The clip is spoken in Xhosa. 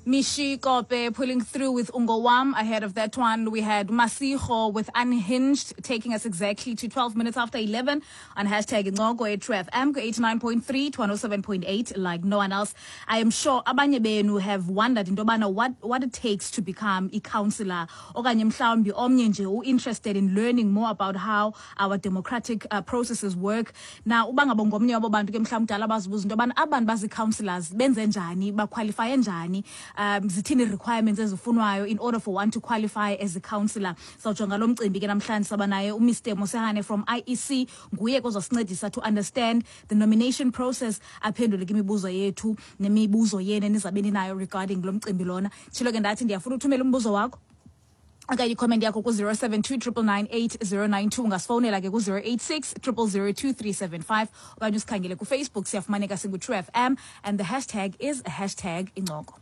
Mishi Kope pulling through with Ungowam. Ahead of that one, we had Masiho with Unhinged, taking us exactly to 12 minutes after 11 on hashtag Incoko at FM 89.3 to 107.8, like no one else. I am sure abanye benu have wondered into yobana what it takes to become a councillor. Okanye mhlawumbi omnye nje u-interested in learning more about how our democratic processes work. Now, uba ngaba ngomnye wabo bantu ke mhlawumbi kudala bazibuza into yobana abantu bazi-councillors benze njani, bakhwalifaye njani, zithini requirements ezifunwayo in order for one to qualify as a councillor. Sawujonga lo mcimbi ke namhlanje, saba naye uMr Mosehane from IEC, nguye kozasincedisa to understand the nomination process, aphendule ke imibuzo yethu nemibuzo yenu enizabe ninayo regarding lo mcimbi lona. Tshilo ke ndathi ndiyafuna uthumela umbuzo wakho okanye i-comment yakho ku-072 999 8092. Ungasifowunela ke ku-086 000 2375 okanye usikhangele kuFacebook, siyafumaneka singu-True FM and the hashtag is #Incoko.